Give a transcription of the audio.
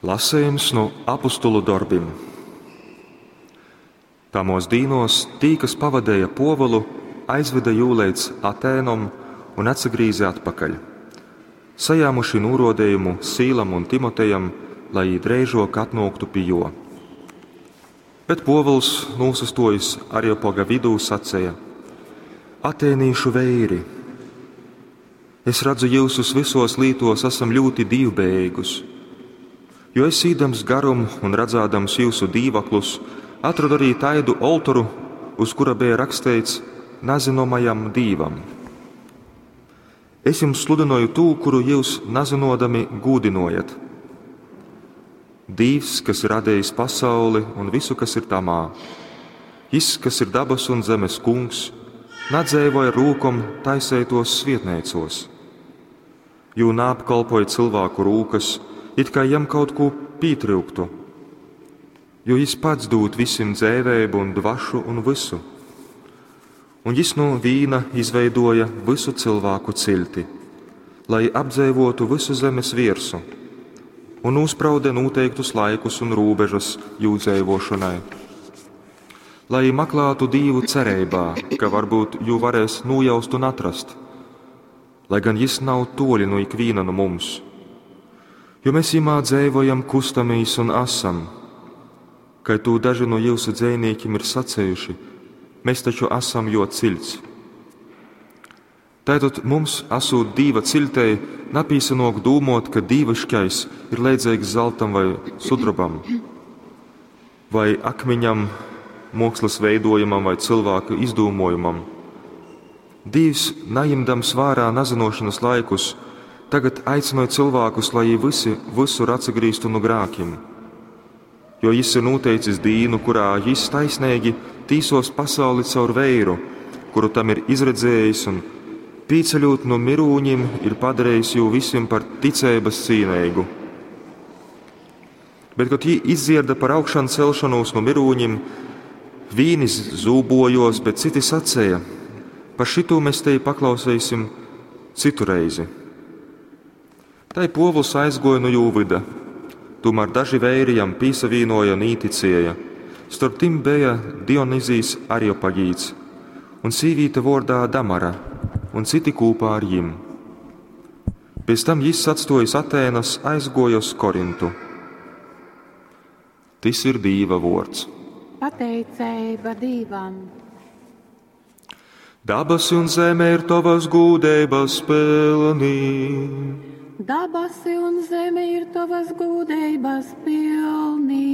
Lasejums nu Apostolu dorbim. Tamōs dīnōs tī, kas pavadeja Pōvulu, aizvede jū leidz Atēnom un atsagrīze atpakaļ, sajāmuši nūrōdejumu Sīlam un Timotejam, lai jī dreižōk atnōktu pi jō. Bet Pōvuls, nūsastōjis Areopaga vidū, saceja: Atēnīšu veiri, es radzu jyusus vysōs lītōs asam ļūti dīvbejeigus. Jo es, īdams garum un radzādams jyusu dīvaklus, atrodu arī taidu oltoru, uz kura beja raksteits, Nazynomajam Dīvam. Es jums sludynoju tū, kuru jyus nazynōdami gūdynojat. Dīvs, kas ir radejis pasauli un visu, kas ir tamā, Jys, kas ir dabasu un zemes Kungs, nadzeivoj ar rūkom taiseitōs svietneicōs. Jū naapkolpoj cylvāku rūkas, it kai jam kaut kū pītryuktu, jo Jys pats dūd visim dzeiveibu un dvašu un vysu. Un Jys nu vīna izveidōja vysu cylvāku ciļti, lai apdzeivōtu vysu zemes viersu, un nūspraude nūteiktus laikus un rūbežas jū dzeivōšonai, lai jī maklātu Dīvu cereibā, ka varbyut jū varēs nūjaust un atrast, lai gan Jys nav tōli nu ikvīna nu mums. Jo mes Jymā dzeivojam, kustamīs un asam, kai tū daži nu jyusu dzejnīkim ir sacejuši, mes taču asam Jō ciļts. Taitod mums, asūt Dīva ciļtei, napīsanōk dūmōt, ka dīviškais ir leidzeigs zaltam vai sudrobam, vai akmiņam, mōkslas veidōjumam vai cylvāka izdūmōjumam. Dīvs, najimdams vārā nazynōšonas laikus, tagad aicynoj cylvākus, lai jī vysi vysur atsagrīztu nu grākim. Jo Jys ir nūteicis dīnu, kurā Jys taisneigi tīsōs pasauli caur veiru, kuru tam ir izredzējis un, pīceļūt nu myrūņim, ir padarejis jū visim par ticeibas cīneigu. Bet, kod jī izdzierda par augšancelšonūs nu myrūņim, vīni zūbōjōs, bet citi saceja, Par šitū mes tevi paklauseisim cytu reizi. Tai Pōvuls aizgōja nu jū vyda. Tūmār daži veiri jam pīsavīnōja un īticēja. Storp tim beja Dionizijs Areopagīts un sīvīte vōrdā Damara un citi kūpā ar jim. Pēc tam jys, atstōjis Atēnas, aizgōja uz Korintu. Tys ir Dīva vōrds. Pateiceiba Dīvam. Dabasi un zeme ir tovas gūdeibas pylni. Dabasi un zeme ir tovas gūdeibas pylni.